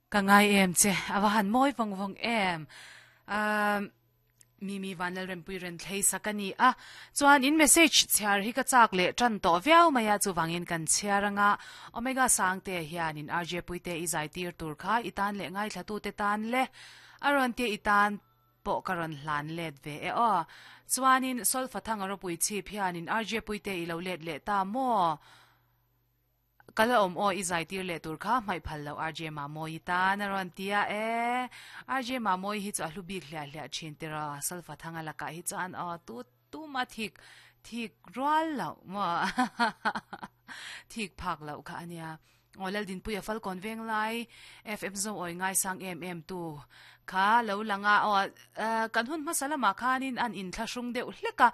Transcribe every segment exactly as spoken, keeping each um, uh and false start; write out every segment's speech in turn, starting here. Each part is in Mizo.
Ka ngai em che awa han moi vong vong em um mi mi vanlal rempui ren thlei sakani a chuan in message chhiar hi ka chak le tran to viau maya chu wangin kan chhiaranga omega sang te hian in rj puite i zai tir tur kha itan le ngai thlatu te tan le aron te itan po karon hlan let ve e o chuanin solfa thang aro pui chi phianin rj puite i lo let le ta mo kala om o i zai tir le tur kha mai phal lo rj ma moi ta na ron tia e rj ma moi hi chu a hlu bik hlia hlia thin tira solfa thanga laka hi chan o tu tu ma thik thik rual lo ma thik phak lo kha ania olal din puya fal kon veng lai fm zo oi ngai sang em em tu kha lo langa o kan hun masala ma khanin an in thlasung deuh hleka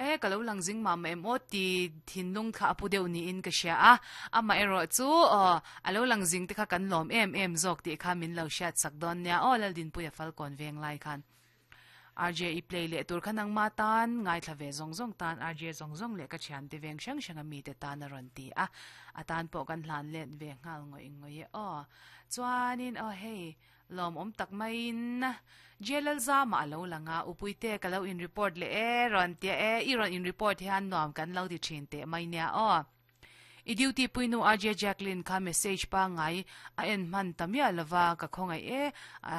e ka lo lang jing ma ma em o ti thinlung kha apu deuh ni in ka sia a ama ero chu o alo lang jing te kha kan lom em em zok ti kha min lo shat sak don nia o lal din puya fal kon veng lai khan R J i play le tur khanang ma tan ngai thlave zong zong tan R J zong zong le ka thian te veng sang sang ami te tan a ron ti a atan po kan hlan len ve ngal ngoi ngoi e o chuanin o hei lom om tak mai in jelal za ma lo langa upuite ka lo in report le e ron te e i ron in report hian nom kan lo ti thin te mai nia o i duty puinu R J Jacqueline kha message pa ngai a en man tamia lova ka khongai e a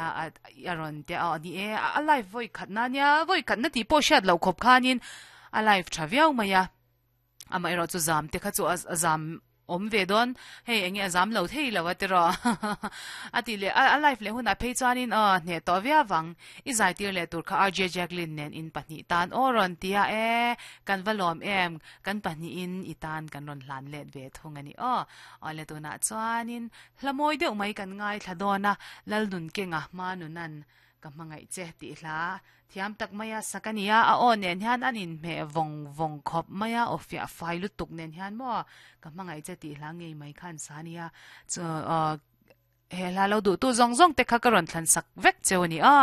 a ron te a ni e a live voi khat na nia voi khat na ti po shat lo khop khanin a live thaviau maya ama ero chu zam te kha chu a zam om ve don hei enge azam lo thei lo atero ati le a life le huna phei chuanin a hne to via wang i zai tir le tur kha R J Jacqueline nen in pahnih tan oron tia e kan valom em kan pahnih in itan kan ron hlan let ve thung ani o ole tu na chuanin hlamoi deuh mai kan ngai thladona lalnun kenga manunan ka mangai che ti hla thiam tak maya sakania a on nen hian anin me vong vong khop maya ofia fai lu tuk nen hian mo ka mangai che ti hla ngei mai khan sania chu he hla lo du tu zong zong te kha ka ron thlan sak vek cheu ni a.